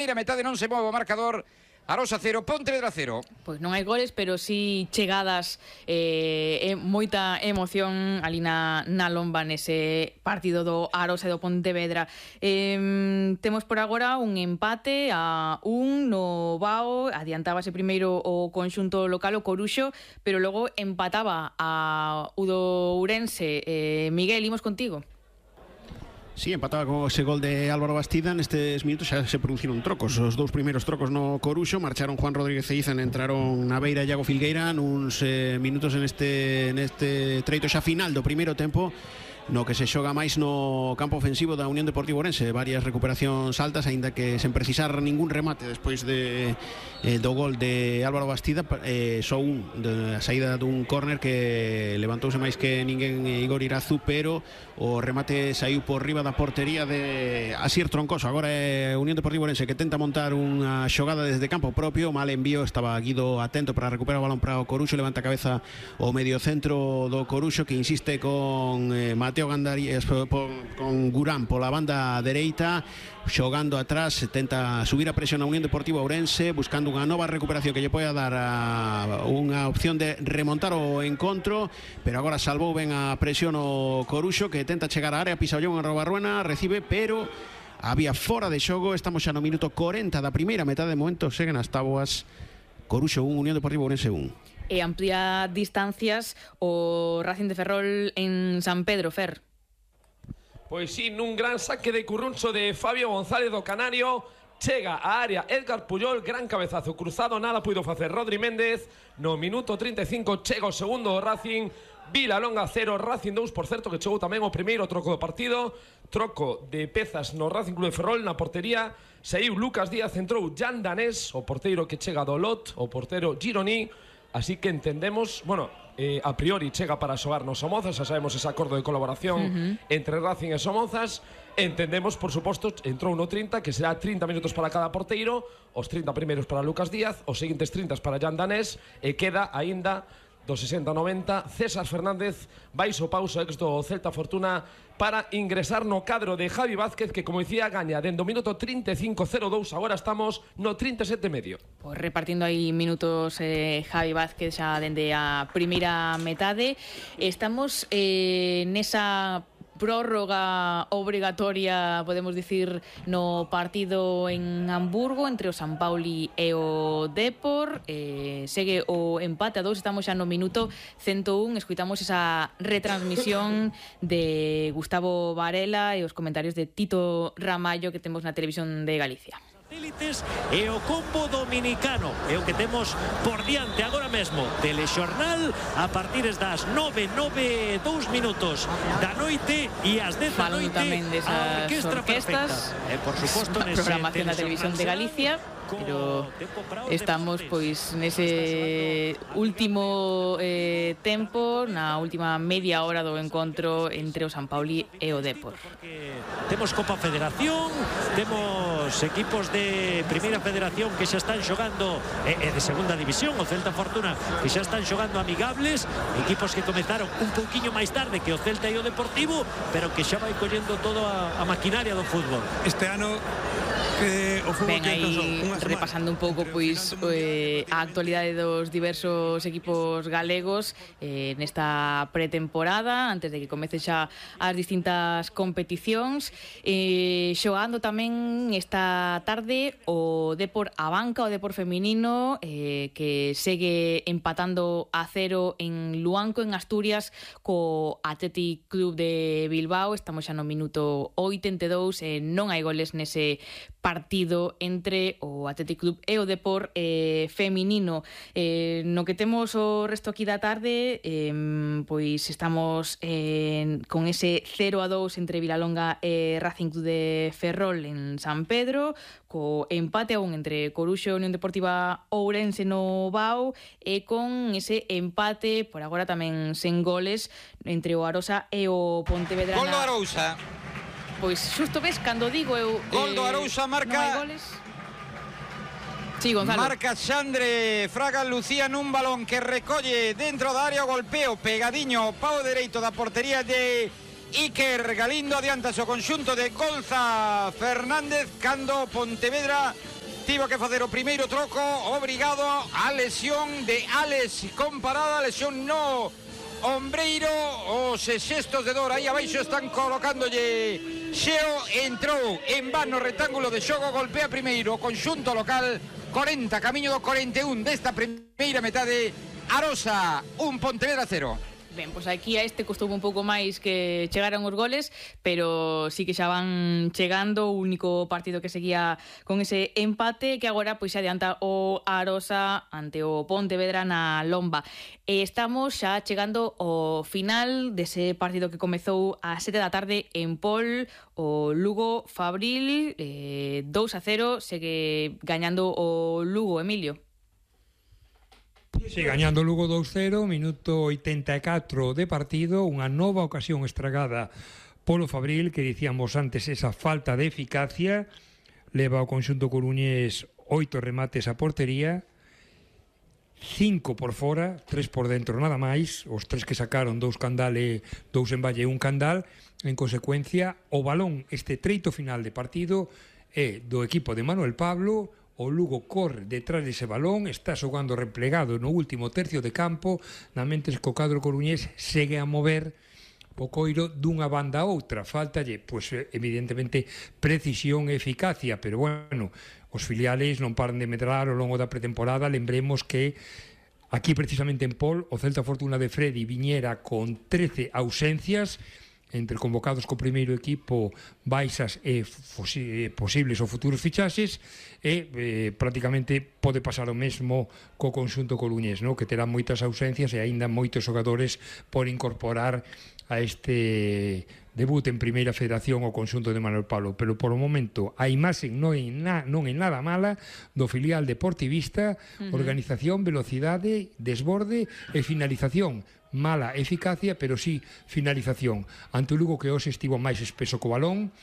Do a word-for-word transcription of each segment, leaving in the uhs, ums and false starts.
Mira, metade non se move o marcador. Arosa cero, Pontevedra cero. Pois non hai goles, pero sí chegadas e eh, moita emoción ali na, na lomba nese partido do Arosa e do Pontevedra. Eh, temos por agora un empate a un no Bao, adiantábase primeiro o conxunto local, o Coruxo, pero logo empataba a Udo Ourense. Eh, Miguel, imos contigo. Sí, empataba con ese gol de Álvaro Bastida. Nestes minutos xa se produciron trocos. Os dous primeiros trocos no Coruxo. Marcharon Juan Rodríguez e Izan, entraron na beira Iago Filgueira nuns eh, minutos neste, neste treito xa final do primeiro tempo, no que se xoga máis no campo ofensivo da Unión Deportiva Ourense. Varias recuperacións altas, aínda que sen precisar ningún remate despois de, eh, do gol de Álvaro Bastida. eh, Só un, de, a saída dun córner que levantouse máis que ninguén Igor Irazu, pero o remate saiu por riba da portería de Asier Troncoso. Agora é Unión Deportiva Ourense que tenta montar unha xogada desde campo propio. Mal envío, estaba Guido atento para recuperar o balón para o Coruxo. Levanta a cabeza o mediocentro do Coruxo, que insiste con eh, Mateo Gandarías con Gurán pola banda dereita, xogando atrás. Tenta subir a presión a Unión Deportiva Ourense, buscando unha nova recuperación que lle poida dar a unha opción de remontar o encontro, pero agora salvou ben a presión o Coruxo, que tenta chegar á área. Pisa o Llon en Robarruena, recibe, pero había fora de xogo. Estamos xa no minuto corenta da primeira metade. De momento seguen as táboas. Coruxo un, Unión Deportiva Ourense un. E amplía distancias o Racing de Ferrol en San Pedro, Fer. Pois sí, nun gran saque de curruncho de Fabio González do Canario. Chega a área Edgar Puyol, gran cabezazo cruzado, nada puido facer Rodri Méndez. No minuto treinta e cinco chega o segundo do Racing. Vilalonga cero, Racing dous, por certo, que chegou tamén o primeiro troco do partido. Troco de pezas no Racing Club de Ferrol. Na portería saiu Lucas Díaz, entrou Jan Danés, o porteiro que chega do Lot, o portero Gironi. Así que entendemos, bueno, eh, a priori chega para xogar no Somozas. Xa sabemos ese acordo de colaboración uh-huh. entre Racing e Somozas. Entendemos, por suposto, entrou no trinta, que será trinta minutos para cada porteiro. Os trinta primeiros para Lucas Díaz, os seguintes trinta para Jan Danés. E queda aínda do sesenta ao noventa César Fernández, baixo pauso ex do Celta Fortuna, para ingresar no cadro de Javi Vázquez, que, como dicía, gaña dende o minuto trinta e cinco cero dous. Agora estamos no trinta e sete e medio. Pois repartindo aí minutos eh, Javi Vázquez xa dende a primeira metade. Estamos eh, nesa prórroga obrigatoria, podemos dicir, no partido en Hamburgo entre o San Pauli e o Depor. Eh, segue o empate a dous, estamos xa no minuto cento un. Escuitamos esa retransmisión de Gustavo Varela e os comentarios de Tito Ramallo que temos na televisión de Galicia. Satélites e o combo dominicano é o que temos por diante agora mesmo. Telexornal a partir das nove, nove, dous minutos da noite e ás dez da noite a Orquestra Perfecta. E por suposto nese programación da televisión de Galicia. Pero estamos pois nese último eh, tempo, na última media hora do encontro entre o San Pauli e o Depor. Temos Copa Federación, temos equipos de Primeira Federación que xa están xogando, e, e de Segunda División, o Celta Fortuna, que xa están xogando amigables, equipos que comezaron un pouquiño máis tarde que o Celta e o Deportivo, pero que xa vai collendo toda a, a maquinaria do fútbol. Este ano que o fútbol ben aí repasando un pouco pois eh, a actualidade dos diversos equipos galegos eh, nesta pretemporada, antes de que comece xa as distintas competicións. Eh, xogando tamén esta tarde o Depor a banca, o Depor feminino, eh, que segue empatando a cero en Luanco, en Asturias, co Athletic Club de Bilbao. Estamos xa no minuto oitenta e dous, eh, non hai goles nese partido entre o Athletic Club e o Depor eh, feminino. Eh, no que temos o resto aquí da tarde, eh, pois estamos eh, con ese cero a dous entre Vilalonga e Racing Club de Ferrol en San Pedro, co empate a un entre Coruxo e Unión Deportiva Ourense no Bao, e con ese empate, por agora tamén sen goles, entre o Arosa e o Pontevedra. Gol do Arousa. Pois xusto ves, cando digo eu Gol do Arousa, marca non hai goles. Sí, Gonzalo. Marca Xandre Fraga Lucía nun balón que recolle dentro da área, o golpeo pegadiño ao pau dereito da portería de Iker Galindo adianta o conxunto de Golza Fernández cando Pontevedra tivo que facer o primeiro troco obrigado a lesión de Alex comparada, lesión no ombreiro, os xestos de dor aí abaixo están colocándolle Xeo, entrou en vano rectángulo de xogo, golpea primeiro o conxunto local, corenta, camiño do corenta e un desta primeira metade, Arosa un, Pontevedra cero. Ben, pois aquí a este costou un pouco máis que chegaran os goles, pero sí que xa van chegando, o único partido que seguía con ese empate que agora pois se adianta o Arosa ante o Pontevedra na Lomba. E estamos xa chegando ao final dese partido que comezou a sete da tarde en Pol, o Lugo Fabril, eh, dous a cero, segue gañando o Lugo, Emilio. Sí, gañando Lugo dous cero, minuto oitenta e catro de partido, unha nova ocasión estragada polo Fabril, que dicíamos antes esa falta de eficacia, leva o conxunto coruñés oito remates a portería, cinco por fora, tres por dentro nada máis, os tres que sacaron, dous candal e dous en valle e un candal. En consecuencia, o balón, este treito final de partido, é do equipo de Manuel Pablo. O Lugo corre detrás dese balón, está xogando replegado no último tercio de campo, na mentes que o cadro coruñés segue a mover o coiro dunha banda a outra. Faltalle, pois, evidentemente, precisión e eficacia, pero, bueno, os filiales non paran de medrar ao longo da pretemporada. Lembremos que aquí, precisamente en Pol, o Celta Fortuna de Freddy viñera con trece ausencias, entre convocados co primeiro equipo, baixas e posibles ou futuros fichaxes, e eh, prácticamente pode pasar o mesmo co conxunto coruñés, no? Que terá moitas ausencias e aínda moitos xogadores por incorporar a este debut en Primeira Federación o conxunto de Manuel Pablo. Pero por o momento a imaxe non é, na, non é nada mala do filial deportivista, uh-huh. Organización, velocidade, desborde e finalización. Mala eficacia, pero sí finalización. Ante o Lugo, que hoxe estivo máis espeso co balón,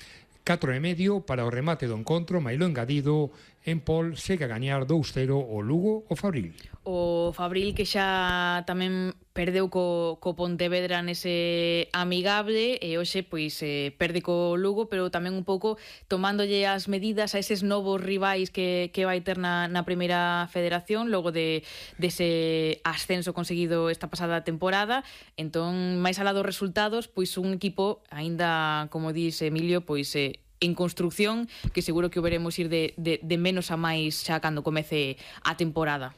catro e medio para o remate do encontro, mailo engadido, en Pol segue a gañar dous cero o Lugo o Fabril. O Fabril que xa tamén perdeu co, co Pontevedra nese amigable e hoxe pois eh, perde co Lugo, pero tamén un pouco tomándolle as medidas a eses novos rivais que, que vai ter na, na Primeira Federación logo de dese ascenso conseguido esta pasada temporada. Entón, máis alá dos resultados, pois un equipo aínda, como dice Emilio, pois eh, en construcción, que seguro que o veremos ir de, de, de menos a máis xa cando comece a temporada.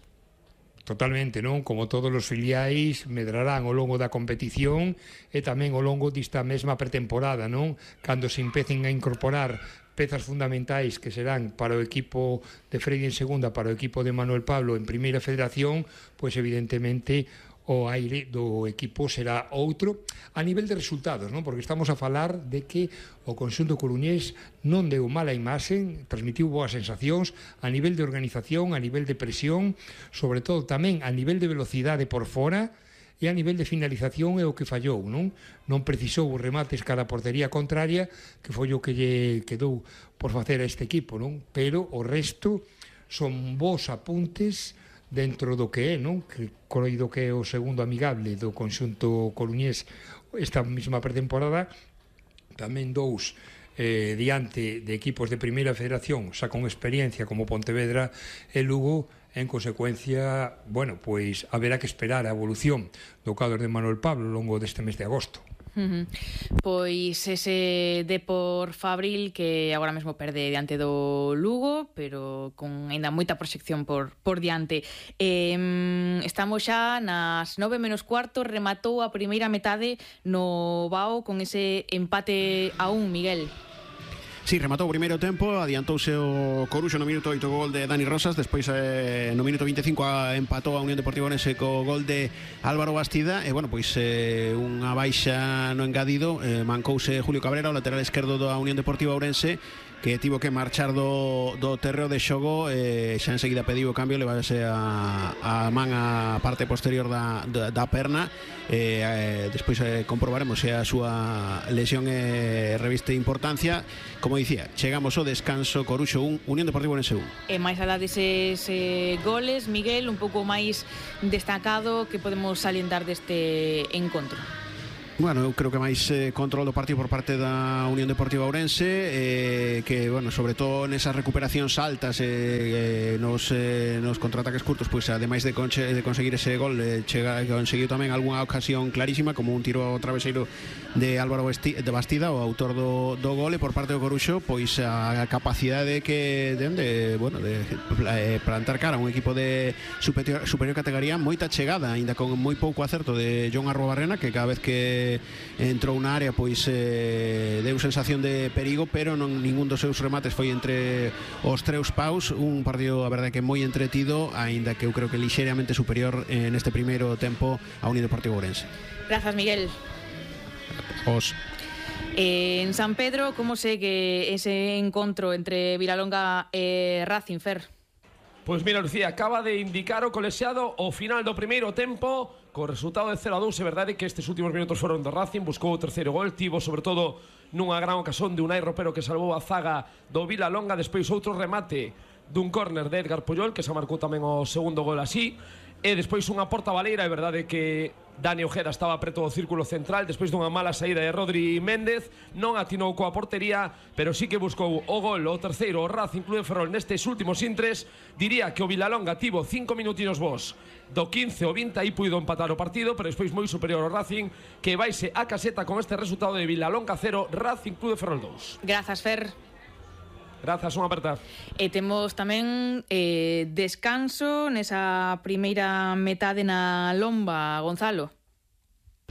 Totalmente, non? Como todos os filiais medrarán ao longo da competición e tamén ao longo desta mesma pretemporada, non? Cando se empecen a incorporar pezas fundamentais que serán para o equipo de Freddy en segunda, para o equipo de Manuel Pablo en Primeira Federación, pois evidentemente o aire do equipo será outro a nivel de resultados, non? Porque estamos a falar de que o conxunto coruñés non deu mala imaxe, transmitiu boas sensacións a nivel de organización, a nivel de presión, sobre todo tamén a nivel de velocidade por fora e a nivel de finalización é o que fallou, non? Non precisou os remates cara a portería contraria, que foi o que lle quedou por facer a este equipo, non? Pero o resto son bons apuntes dentro do que é, non? Que croido que é o segundo amigable do conxunto coruñés esta mesma pretemporada, tamén dous eh, diante de equipos de Primeira Federación xa con experiencia como Pontevedra e Lugo. En consecuencia, bueno, pois haberá que esperar a evolución do cadro de Manuel Pablo ao longo deste mes de agosto. Uh-huh. Pois ese Depor Fabril que agora mesmo perde diante do Lugo, pero con ainda moita proxección por, por diante. eh, Estamos xa nas nove menos cuarto. Rematou a primeira metade no Bao con ese empate a un, Miguel. Sí, rematou o primeiro tempo, adiantouse o Coruxo no minuto oito co gol de Dani Rosas, despois eh, no minuto vinte e cinco a, empatou a Unión Deportiva Ourense co gol de Álvaro Bastida, e bueno, pois eh, unha baixa no engadido, eh, mancouse Julio Cabrera, o lateral esquerdo da Unión Deportiva Ourense, que tivo que marchar do, do terreo de xogo, eh, xa enseguida pediu o cambio, levase a, a man a parte posterior da, da, da perna, eh, eh, despois eh, comprobaremos se a súa lesión eh, reviste importancia. Como dicía, chegamos ao descanso, Coruxo un, Unión Deportiva Ourense un. E máis alá deses eh, goles, Miguel, un pouco máis destacado que podemos salientar deste encontro. Bueno, eu creo que máis eh, control do partido por parte da Unión Deportiva Ourense, eh, que, bueno, sobre todo nesas recuperacións altas eh, eh, nos, eh, nos contraataques curtos, pois ademais de, conche, de conseguir ese gol, eh, chega, conseguiu tamén algunha ocasión clarísima, como un tiro ao traveseiro de Álvaro de Bastida, o autor do, do gol, e por parte do Coruxo, pois a capacidade que den de, bueno, de eh, plantar cara a un equipo de superior, superior categoría, moita chegada, aínda con moi pouco acerto de John Arrobarrena, que cada vez que entrou na área pois eh, deu sensación de perigo, pero non ningún dos seus remates foi entre os treus paus. Un partido, a verdade, que moi entretido, aínda que eu creo que lixeiramente superior eh, neste primeiro tempo a Unión Deportiva Ourense. Grazas, Miguel. Os En San Pedro, como segue ese encontro entre Vilalonga e Racing, Fer? Pois mira, Lucía, acaba de indicar o colexiado o final do primeiro tempo co resultado de cero a dous. É verdade que estes últimos minutos foron do Racing, buscou o terceiro gol, tivo sobre todo nunha gran ocasión de Unai Ropero que salvou a zaga do Vilalonga, despois outro remate dun córner de Edgar Puyol que se marcou tamén o segundo gol así, e despois unha porta baleira. É verdade que Dani Ojeda estaba preto do círculo central despois dunha mala saída de Rodri Méndez, non atinou coa portería, pero sí que buscou o gol, o terceiro, o Racing Club de Ferrol nestes últimos intres. Diría que o Vilalonga tivo cinco minutinos vos do quince ao vinte, aí puido empatar o partido, pero despois moi superior ao Racing, que vaise a caseta con este resultado de Vilalonga cero, Racing Club de Ferrol dous. Grazas, Fer. Grazas, unha aperta. E temos tamén eh, descanso nesa primeira metade na Lomba, Gonzalo.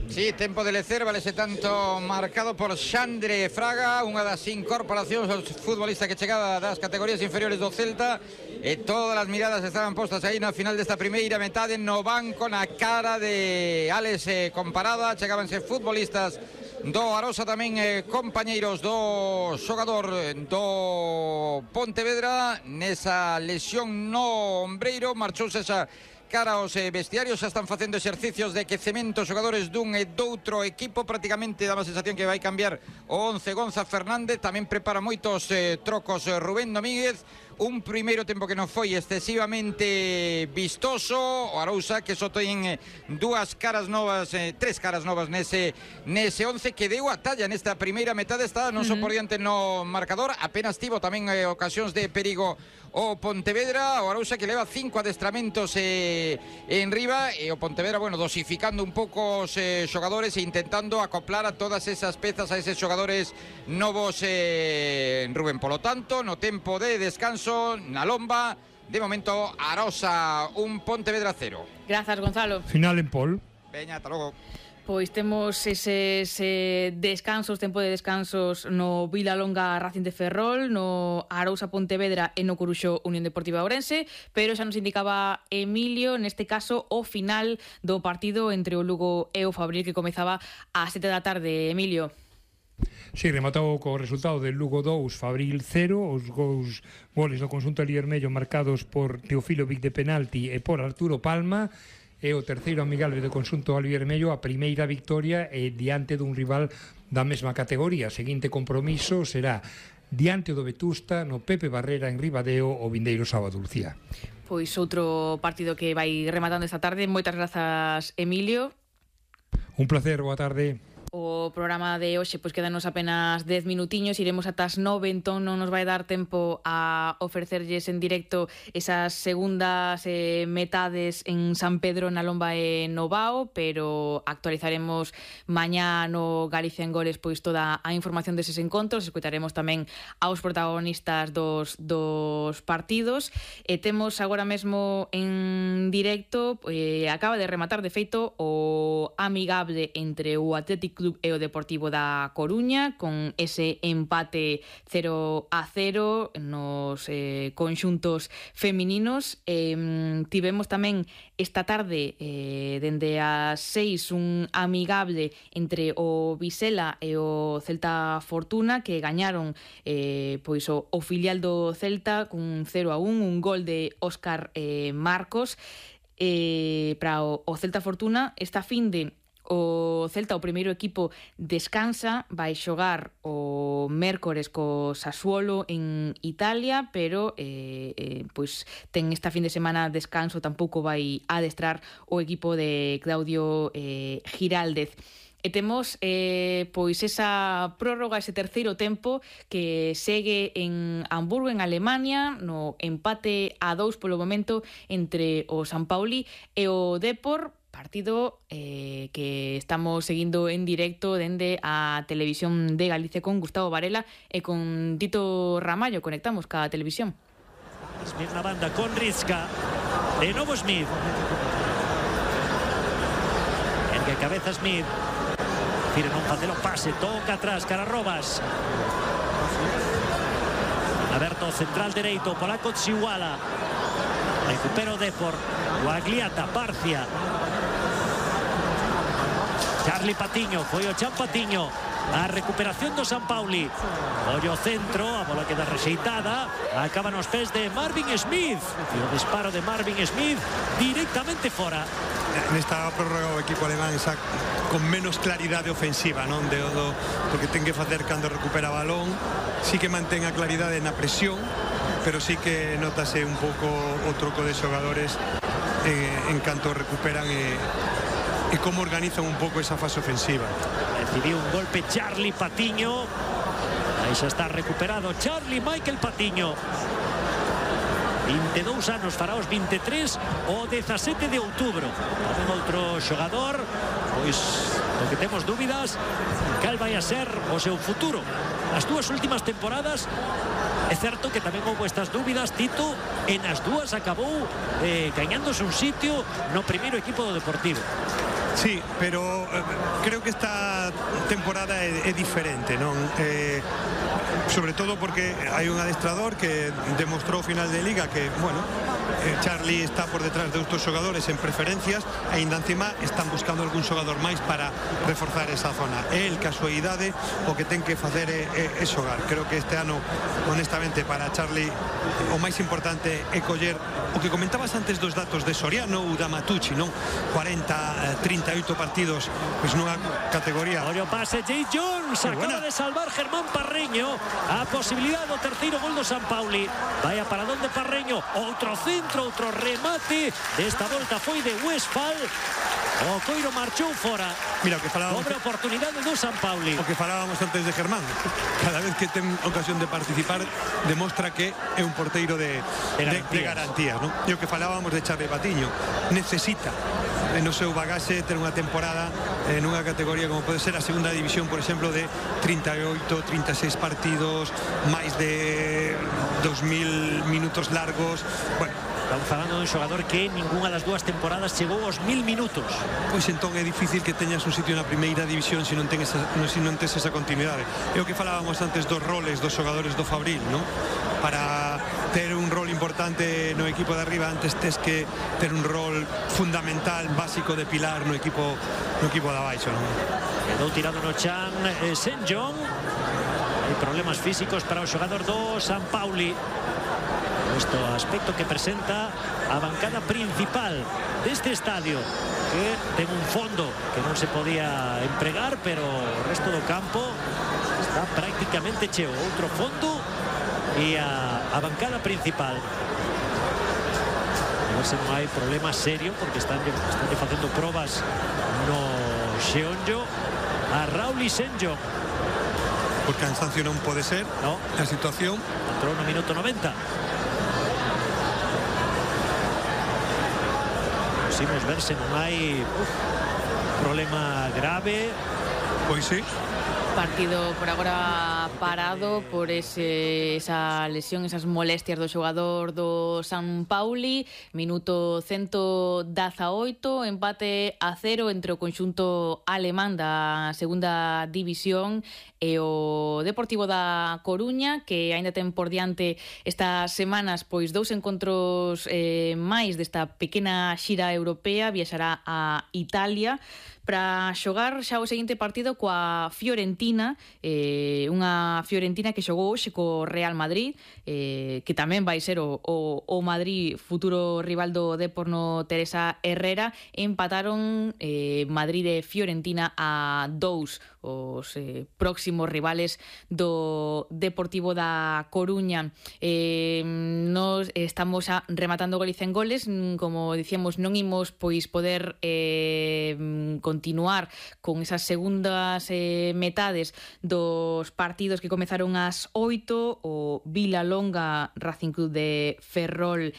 Sí, tempo de lecer, valese tanto marcado por Xandre Fraga, unha das incorporacións dos futbolistas que chegaba das categorías inferiores do Celta, e todas as miradas estaban postas aí na final desta primeira metade no banco, na cara de Alex eh, Comparada. Chegábanse futbolistas do Arosa, tamén eh, compañeiros do xogador do Pontevedra nesa lesión no ombreiro. Marchouse esa cara aos eh, vestiarios, xa están facendo exercicios de quecemento xogadores dun e doutro equipo. Prácticamente dá a sensación que vai cambiar o once Gonza Fernández. Tamén prepara moitos eh, trocos eh, Rubén Domínguez. Un primeiro tempo que non foi excesivamente vistoso. O Arousa que só ten eh, dúas caras novas, eh, tres caras novas nese, nese once, que deu a talla nesta primeira metade. Está non só por diante no marcador, apenas tivo tamén eh, ocasións de perigo o Pontevedra. O Arousa que leva cinco adestramentos eh, en riba, e o Pontevedra, bueno, dosificando un pouco os eh, xogadores e intentando acoplar a todas esas pezas, a eses xogadores novos, eh, Rubén. Polo tanto, no tempo de descanso na Lomba, de momento Arosa un, Pontevedra cero. Grazas, Gonzalo. Final en Pol. Veña, ata logo. Pois temos eses eh, descansos, tempo de descansos no Vilalonga Racing de Ferrol, no Arousa Pontevedra e no Coruxo Unión Deportiva Ourense, pero xa nos indicaba Emilio, neste caso, o final do partido entre o Lugo e o Fabril, que comezaba ás sete da tarde. Emilio. Sí, rematado co resultado del Lugo dous, Fabril cero, os gols, goles do conxunto aliermello marcados por Teofilo Vic de penalti e por Arturo Palma, e o terceiro amigable do conxunto aliermello, a primeira victoria e diante dun rival da mesma categoría. Seguinte compromiso será diante do Vetusta no Pepe Barrera en Ribadeo o vindeiro sábado, Lucía. Pois outro partido que vai rematando esta tarde. Moitas grazas, Emilio. Un placer, boa tarde. O programa de hoxe pois quedanos apenas dez minutiños, iremos ata as nove, entón non nos vai dar tempo a ofrecerlles en directo esas segundas eh, metades en San Pedro, na Lomba e no Bao, pero actualizaremos mañá no Galicia en Goles pois toda a información deses encontros. Escutaremos tamén aos protagonistas dos, dos partidos, e temos agora mesmo en directo, eh, acaba de rematar de feito o amigable entre o Atlético Club e o Deportivo da Coruña, con ese empate cero a cero nos eh, conxuntos femininos. Eh, tivemos tamén esta tarde, eh, dende as seis, un amigable entre o Visela e o Celta Fortuna, que gañaron eh, pois o, o filial do Celta cun cero a un, un gol de Óscar eh, Marcos. Eh, para o, o Celta Fortuna, esta finde o Celta, o primeiro equipo, descansa, vai xogar o mércores co Sassuolo en Italia, pero eh, eh, pois ten esta fin de semana descanso, tampouco vai adestrar o equipo de Claudio eh, Giraldez. e temos eh, pois esa prórroga, ese terceiro tempo que segue en Hamburgo, en Alemania, no empate a dous polo momento entre o San Pauli e o Depor, partido eh, que estamos seguindo en directo dende a Televisión de Galicia con Gustavo Varela e con Tito Ramallo. Conectamos ca televisión. Smith na banda con Rizka. De novo Smith. Ergue cabeza Smith. Fire non facer o pase. Toca atrás, Cararrobas. Aberto central dereito. Polaco Tsiwala. Recupera o Depor. Guagliata, Barcia. Charlie Patiño. Foi o Chan Patiño. A recuperación do San Pauli. Ollo centro, a bola queda rexeitada. Acaba nos pés de Marvin Smith. E o disparo de Marvin Smith directamente fora. Nesta prórroga o equipo alemán xa con menos claridade ofensiva, non? De, do, do que ten que facer cando recupera balón. Sí que mantén a claridade na presión, pero sí que notase un pouco o troco de xogadores eh, en canto recuperan e, e como organizan un pouco esa fase ofensiva. Recibiu un golpe Charlie Patiño. Aí xa está recuperado Charlie Michael Patiño. vinte e dous anos, fará os vinte e tres o dezasete de outubro. Tamén outro xogador, pois o que temos dúbidas cal vai a ser o seu futuro. As dúas últimas temporadas é certo que tamén houve estas dúbidas, Tito, e nas dúas acabou eh, gañándose un sitio no primeiro equipo do Deportivo. Sí, pero eh, creo que esta temporada é, é diferente, non? Eh, sobre todo porque hai un adestrador que demostrou final de Liga que, bueno, eh, Charlie está por detrás de outros xogadores en preferencias e ainda encima están buscando algún xogador máis para reforzar esa zona. É el casualidade o que ten que facer é, é, é xogar. Creo que este ano, honestamente, para Charlie o máis importante é coller o que comentabas antes dos datos de Soriano ou da Matucci, non? cuarenta, trinta e oito partidos pois nunha categoría. Ollo pase, Jay Jones acaba de salvar Germán Parreño a posibilidade do terceiro gol do San Pauli. Vai a paradón de Parreño, outro centro, outro remate. Desta volta foi de Westphal. O Coiro marchou fora. Mira, o que falábamos, dobre oportunidade do San Pauli. O que falábamos antes de Germán. Cada vez que ten ocasión de participar demostra que é un porteiro de, de, de, de garantías, ¿no? E o que falábamos de Charlie Patiño, necesita no seu bagaxe ter unha temporada en unha categoría como pode ser a segunda división, por exemplo, de trinta e oito, trinta e seis partidos, máis de dos mil minutos largos. Bueno, estamos falando dun xogador que ningunha das dúas temporadas chegou aos mil minutos. Pois entón é difícil que teñas un sitio na primeira división se non ten esa, se non tes esa continuidade. É o que falábamos antes dos roles dos xogadores do Fabril, non? Para ter un rol importante no equipo de arriba antes tes que ter un rol fundamental, básico de pilar no equipo no equipo de abaixo, non? Quedou tirado no chan eh, Saint John. Hai problemas físicos para o xogador do San Pauli. Este aspecto que presenta a bancada principal deste estadio, que ten un fondo que non se podía empregar, pero o resto do campo está prácticamente cheo. Outro fondo e a, a bancada principal. A ver se non hai problema serio, porque están, están facendo probas no Xeonllo a Raúl Isenjo. Por cansancio non pode ser, no. A situación. Entrou no minuto noventa. Posimos ver se non hai uf, problema grave. Pois sí. Partido por agora parado por ese, esa lesión, esas molestias do xogador do San Pauli. Minuto ciento dezaoito, empate a cero entre o conxunto alemán da segunda división e o Deportivo da Coruña, que aínda ten por diante estas semanas pois dous encontros eh, máis desta pequena xira europea. Viaxará a Italia para xogar xa o seguinte partido coa Fiorentina, eh, unha Fiorentina que xogou hoxe co Real Madrid, eh, que tamén vai ser o, o, o Madrid futuro rival do Depor no Teresa Herrera. Empataron eh, Madrid e Fiorentina a dous. os eh, próximos rivales do Deportivo da Coruña. Eh, nos estamos a rematando Galicia en goles, como dicíamos, non imos pois poder eh, continuar con esas segundas eh, metades dos partidos que comezaron ás oito, o Vilalonga Racing Club de Ferrol